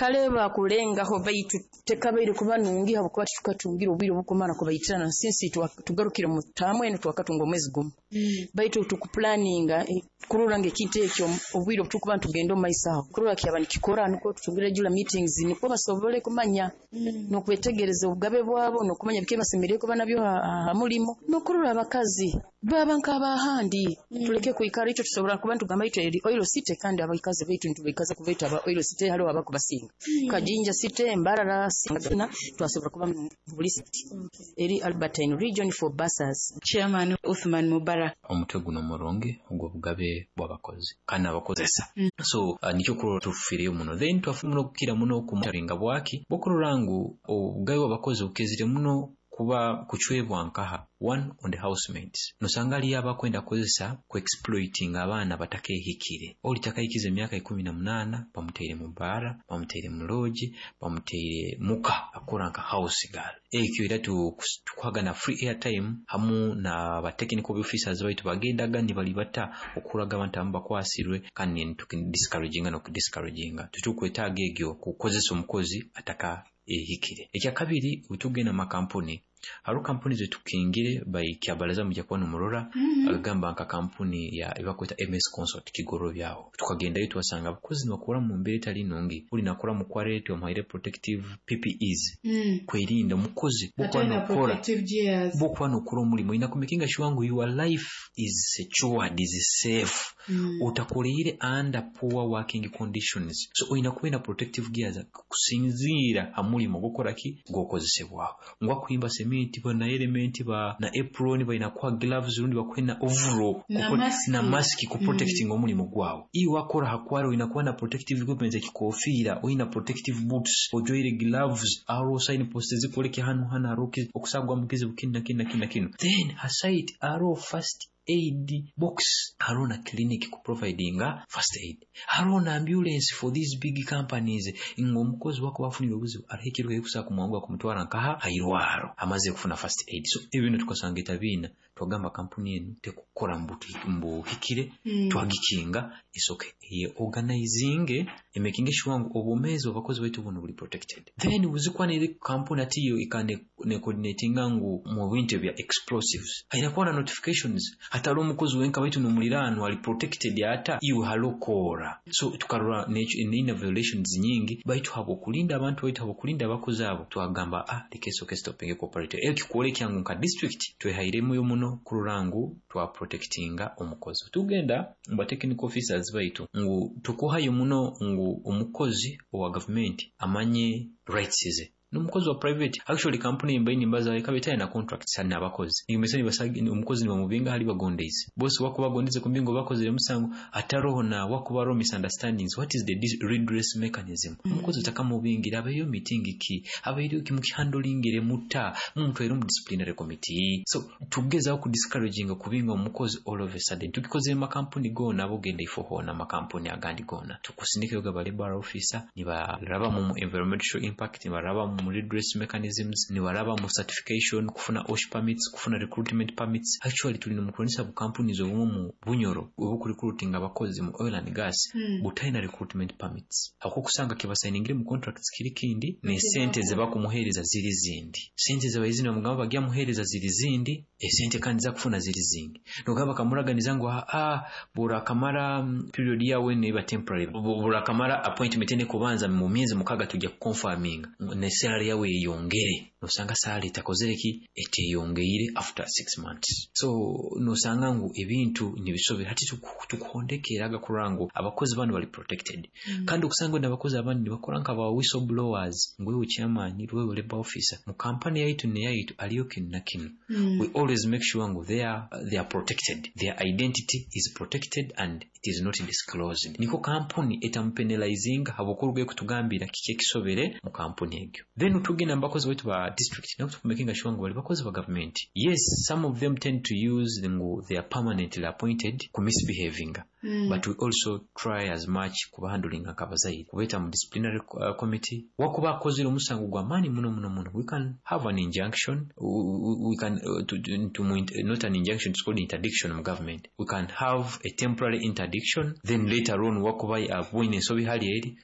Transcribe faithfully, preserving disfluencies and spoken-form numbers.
Kale bakulengaho, baitu tekabaire kuba nungi, habwokuba titukatungire obwire obukumara kubaitirana since tugarukire mu taamu enu, twakatunga omwezi gumu, baitu tukuplanninga kurora ngu ekintu ekyo, obwire obutukuba nitugenda omu maiso aho, kurora kyaba nikikora, nukwo tutungire regular meetings, nukwo basobole kumanya n'okwetegereza obugabe bwabo n'okumanya biki ebibasemeriire kuba nabyo ha mulimo, n'okurora abakazi baba nk'abahandi. Tuleke kwikara itwe tusobora kuba nitugamba itwe eri Oil City, kandi abakazi baitu nitubaikaza kubaita aba Oil City. Hariho abakubasinga Kajinja City, Mbarara, twasobora kuba buli city eri Albertine region for bursars. Chairman Uthman Mubarak. Omutwe guno murungi ogw'obugabe bw'abakozi kandi abakozesa, so uh, nikyo kurora tufiireyo muno. Then twafu muno kukira muno kumutaringa bwaki bwokurora ngu obugabe bw'abakozi bukezire muno kuba kucwebwa nkaha one on the housemates. Nosanga aliyo abakwenda kukozesa ku exploiting abaana batakehikire, oli takahikiza emyaka ikumi na munaana, bamuteire mu baara, bamuteire mu lodge, bamuteire muka akora nka house girl. Ekyo era tukuhaga na free airtime hamu na ba technical officers baitu bagendaga nibalibata okuraga abantu abamu bakwasirwe, kandi discouraginga n'okudiscouraginga. Tutukwetaaga egyo kukozesa omukozi ataka ehikire. Ekyakabiri, bwetugenda mu makampuni, hariho kampuni zetukingire by kyabalaza, mujja kuba nomurora, mm -hmm. agamba nka kampuni ya ebakweta M S Consult Kigoro byaho, tukagendayo twasanga abakozi nibakora mu mbeera etali nungi. Buli nakora mu quarry, twamuhaire protective P P Es mm. kwerinda omukozi. Bokuba nokora bokuba nokora omulimu, oyina kumakinga sure ngu your life is secured, is safe, mm. utakoleire under poor working conditions, so oyina kuba na protective gears kusinziira ha mulimu gukora ki gwokozesebwaho. Ngu akuhimba cement ba na element ba na apron, balina kuha gloves rundi bakuhe na overall na na mask ku protecting mm. omulimu gwawe. Iwe wakora hakwara, oyina kuba na protective equipment, ekikofiira, oyina protective boots, ojwaire gloves, aro sign post zikoleke hano hano haro okusagwa mukizibu kino na kino na kino na kino. Then ha site aro first aid box, hariho na clinic kuprovidinga first aid, hariho na ambulance for these big companies, nga omukozi wakuba afunire obuzibu, hariho ekiruka ekusobola kumwanguha kumutwara nkaha hairwaro amaze kufuna first aid. So ebyo tukasanga etabiina, twagamba kampuni enu tekukora mbuhikire, mm. twagikinga isoke ye organizing, emaking sure ngu obwomeezi bw'abakozi baitu buno buli protected. Then buzikwanire kampuni ati yo ikane ne coordinatinga ngu mu bintu bya explosives haina kuba na notifications, hatari omukozi wenka baitu n'omuliraano ali protected ata iwe halokora. So tukarora neina violations nyingi, baitu habwokulinda abantu baitu, habwokulinda abakozi abo, twagamba, "Ah, leka esoke stopping cooperative." Eyo kikuoleka ngu nka district twehairemu muno kurora ngu twa protectinga omukozi. Tugenda mu technical officers baitu ngu tukuhayo muno ngu omukozi owa gavumenti amanye rights ze n'omukozi wa private. Actually, kampuni mbayi nimbaza ikaba etaye na contracts n'abakozi, nimese nibasagi omukozi nibamubinga hali bagondeize bose wakuba bagondeize kumbingo bakozere musango, ataroho na wakuba ro misunderstandings, what is the redress mechanism? mm. Omukozi utakamubingira, abayo meeting ki, abayo ki mukihandlingire muta, mumutwaire mu disciplinary committee. So tugezaho ku discouraging kubinga omukozi all of a sudden. Tukikozere makampuni gona abogenda ifo hona, makampuni agandi gona tukusindika ba labor officer, nibaraba mu environmental impact, nibaraba mu redress mechanisms, nibaraba mu certification, kufuna O S H permits, kufuna recruitment permits. Actually, tuli mukuronesa bu companies obumu mu Bunyoro obukurecruiting abakozi mu oil and gas mm. butalina recruitment permits, ako kusanga kibasayiningire mu contracts kiri kindi, ne sente zebakumuhereza ziri zindi, sente zebaizina mugamba bagya muhereza ziri zindi, esente kandi zakufuna ziri zingi. Nogamba kamuraganiza ngu, "Ah, burakamara period yawe neba temporary, burakamara appointment ene kubanza mu myezi mukaga tujya kuconfirminga ne salary yawe yeyongere." Nosanga salary etakozere ki, eteyongeire after six months. So nosanga ngu ebintu nibisobera. Hati tukuhondekeraga kurora ngu abakozi bano bali protected, mm. kandi okusanga n'abakozi abandi nibakora nka ba whistleblowers, ngu, "Wewe chairman, wewe labor officer, mu kampani yaitu ne yaitu aliyo kinu na kinu." mm. We always make sure ngu they are, they are protected, their identity is protected and it is not disclosed, niko kampuni etamupenalizing habwokurugayo kutugambira kiki ekisobere mu kampuni egyo. Then tugenda mu bakozi baitu ba district, nabo tukumakinga sure ngu bali bakozi ba government. Yes, some of them tend to use ngu they are permanently appointed ku misbehaving, mm. but we also try as much kubahandlinga nk'abazaire, kubeeta mu disciplinary uh, committee. Wakuba akozere omusango gw'amaani muno muno muno, we can have an injunction, we, we can uh, to, to, to, not an injunction, it's called interdiction mu government. We can have a temporary interdiction, then later on wakuba abwine ensobi hali eri.